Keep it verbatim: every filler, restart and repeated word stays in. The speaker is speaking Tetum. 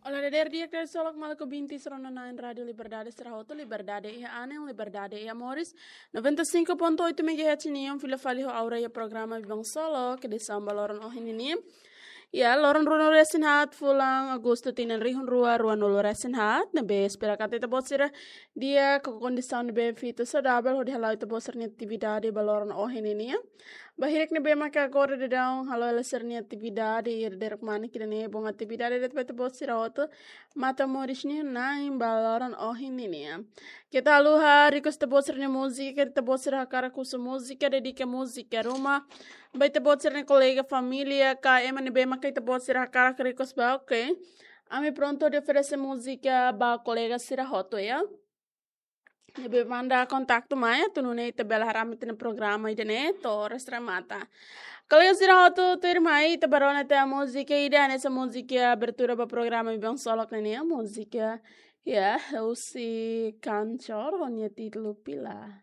Olá, dadeer di'ak, dadeer solok, maluk ouvinte sira no na'in Rádio Liberdade sira hotu, liberdade iha anin, liberdade iha moris. Noventa e cinco ponto oito megahertz nian, fila fali ho Aura iha programa Biban Solo, ke edisaun ba loron ohin nian. Ya, loron ruanulu resin haat, fulan Agostu tinan rihun rua, ruanulu resin haat, ne'ebé espera katak ita-boot sira di'ak, ho kondisaun ne'ebé fitu saudavel, hodi hala'o ita-boot sira-nia atividade ba loron ohin nian. Ba hirak ne'ebé maka agora daudaun halo hela sira-nia atividade, iha dadeer-manik ida-ne'e, bom atividade de'it ba ita-boot sira hotu, matan moris nia na'in ba loron ohin nian. Keta haluha request ita-boot sira-nia múzika, keta ita-boot sira hakarak husu múzika, dedika múzika ruma ba ita-boot sira-nia kolega, família, ka ema ne'ebé maka ita-boot sira hakarak request ba, oke. Ami prontu hodi oferese múzika ba kolega sira hotu, ya. Ne'ebé manda kontaktu mai, atu nune'e ita bele haree ami-nia programa ida-ne'e to'o oras remata. Kolega sira hotu, tuirmai ita bá rona tiha múzika ida, hanesan múzika abertura ba programa Biban Solo nian, múzika, ya, husi Kanchor, ho nia títulu Pila.